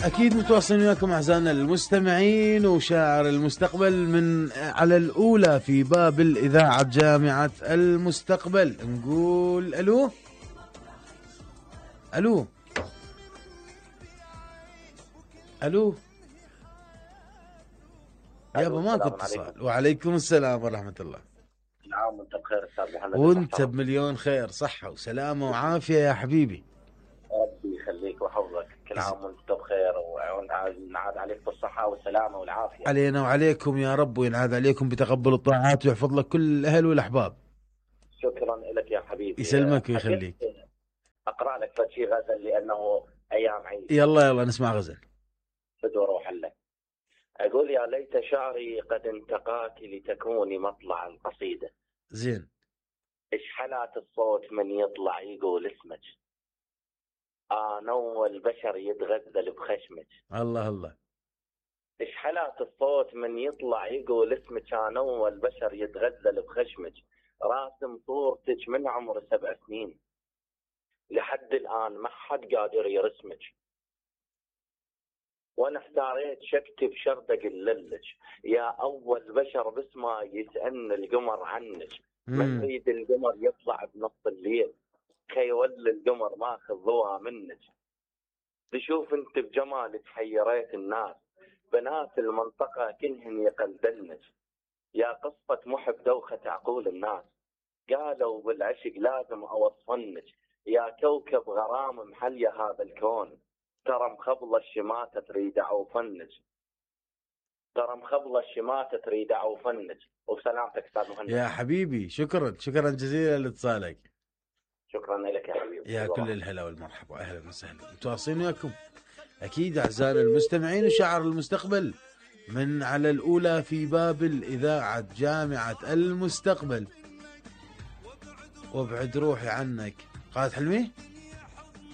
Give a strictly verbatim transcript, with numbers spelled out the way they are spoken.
أكيد متواصلين وياكم أعزائنا المستمعين، وشاعر المستقبل من على الأولى في باب الإذاعة جامعة المستقبل. نقول ألو ألو ألو يابا ماكو اتصال. وعليكم السلام ورحمة الله. كل عام وانت بخير استاذ محمد. وانت بمليون خير، صحة وسلامة وعافية يا حبيبي. ربي يخليك ويحفظك. كل عام وانت بخير وينعاد عليك بالصحة والسلامة والعافية. علينا وعليكم يا رب، وينعاد عليكم بتقبل الطاعات ويحفظ لك كل الأهل والأحباب. شكرا لك يا حبيبي. يسلمك ويخليك. أقرأ لك شيء غزل لأنه أيام عيد. يلا يلا نسمع غزل. بدو أروح لك. أقول يا ليت شعري قد انتقاك لتكوني مطلع القصيدة. زين. إيش حالات الصوت من يطلع يقول اسمك. أنا والبشر يتغزل بخشمك. الله الله. إيش حالات الصوت من يطلع يقول اسمك. أنا والبشر يتغزل بخشمك. راسم صورتك من عمر سبع سنين. لحد الآن ما حد قادر يرسمك. وانا احتاريت شكتب شرط اقللك. يا اول بشر بس ما يسألني القمر عنك. ما نريد القمر يطلع بنص الليل. كي يولي القمر ماخذ ضوء منك. تشوف انت بجمالك حيريت الناس. بنات المنطقة كلهن يقلدنك. يا قصة محب دوخة عقول الناس. قالوا بالعشق لازم اوصفنك. يا كوكب غرام محلية هذا الكون. ترى مخبلة الشماتة تريد عوفنك. ترى مخبلة الشماتة تريد عوفنك. وسلامتك استاذ مهند. يا حبيبي شكرا شكرا جزيلا لاتصالك. شكرا لك يا حبيبي. يا كل الهلا والمرحبا واهلا وسهلا. متواصلين وياكم اكيد اعزائنا المستمعين وشاعر المستقبل من على الاولى في باب الاذاعة جامعة المستقبل. وابعد روحي عنك. قائد حلمي.